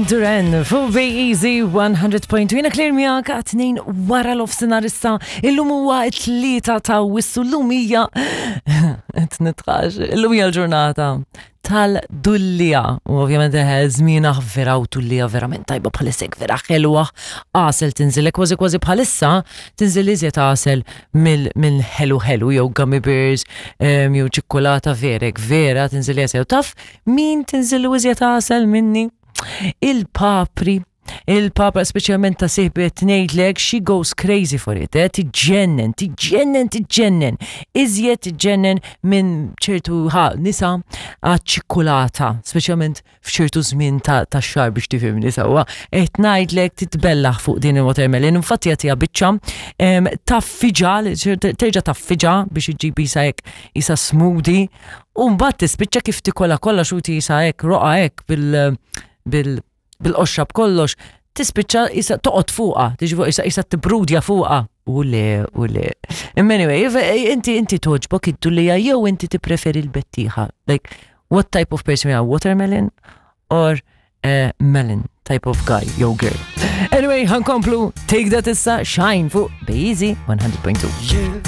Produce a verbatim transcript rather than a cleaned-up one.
Duran fuq Easy one hundred point two. Jiena Claire miegħek għat-tnejn wara nofsinhar issa. Illum huwa t-tlieta ta' Awwissu, llum hija qed nitħax. Illum hija l-ġurnata tal-dulliegħa. U ovvjament eħe żmiena vera u dulliegħa verament tajba bħalissa, vera ħelwa. Għasel tinżilek kważi kważi bħalissa tinżil iżjed għasel mill ħelu ħelu jew gummy bears em, jew ċikkulata verek vera tinżil iżjed. Taf min tinżil iżjed għasel minni? Il-papri. Il-papra speċjalment ta' sieħbi, ngħidlek, she goes crazy for it, eh? Tiġġennen, tiġġennen, tiġġennen. Iżjed tiġġennen minn ċertu ħa nisa għaċ-ċikkulata, speċjalment f'ċertu żmien ta' ta' xahar biex tifhimni sewwa. Qed ngħidlek titbellaħ fuq din il-watermelon, infatti jagħtiha biċċa em, taffiġa, terġa' taffiġa biex iġġib isa hekk isa smoothie, u mbagħad tispiċċa kif tikola kollha xuti isa hekk roqa hekk bil bil bil-qoxra b'kollox, tispiċċa isa toqgħod fuqha, tiġi fuq isa isa tibrudja fuqha. U le, u le. Imma anyway, if- inti inti togħġbok id-dulliegħa jew inti tippreferi l-bettieħa? Like, what type of person you are, watermelon or a melon type of guy, yo girl? Anyway, ħa nkomplu, Take That issa, Shine fuq Bejzi one hundred point two. You